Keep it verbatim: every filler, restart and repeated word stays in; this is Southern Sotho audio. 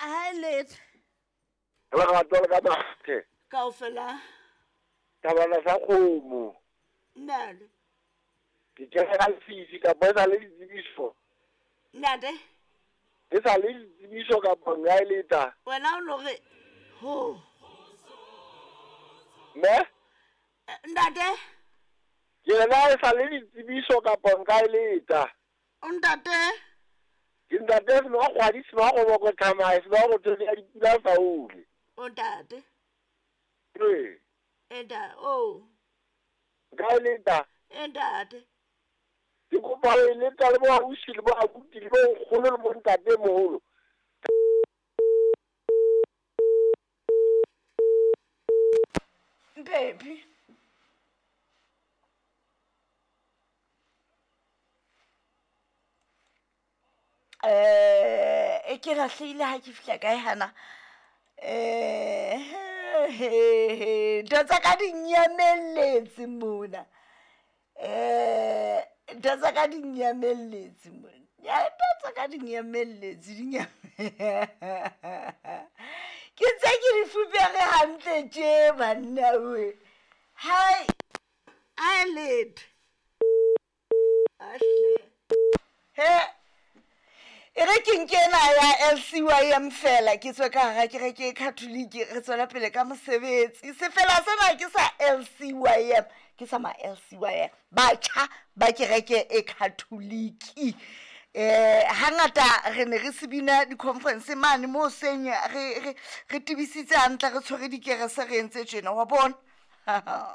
Ha letho. Lerato le ka mathe. Kaofela. Tabana sa kgomo. Nalo. Ke kene ka lefifi kapa e sa le ditsebiso. Ntate. E sa le ditsebiso kapa nka e leta. Wena o no re ho. Me? Ntate. Ke rena e sa le ditsebiso kapa nka e leta. O ntate. Ke ntate se no kgwadi se no go boko thamae se no go thole ya dipula faule. O ntate. Ee. Enda o. Nka e leta. Ntate. Ke kopa ho e leta le bo ausi le bo abuti le bo nkgono le bo ntate moholo. Baby. Eh, e ke rahlehile ha ke fihla kae hana. Eh, ntho tsa ka di nyamelletse mona. Eh, ntho tsa ka di nyamelletse mona. Ya ntho tsa ka di nyamelletse di nyam. Ke ntse ke di fupere hantle tje banna we. Hai. Ai letho. Ahle. He. E re ke nke ena ya L C Y M fela ke tswe ka hara kereke e Catholic re tswela pele ka mosebetsi. Sefela sena ke sa L C Y M, ke sa ma L C Y M. Batjha ba kereke e Catholic. Eh hangata re ne re se bina di-conference mane mo seng re re re tibisitse hantle re tshwere dikerese re entse tjena wa bona.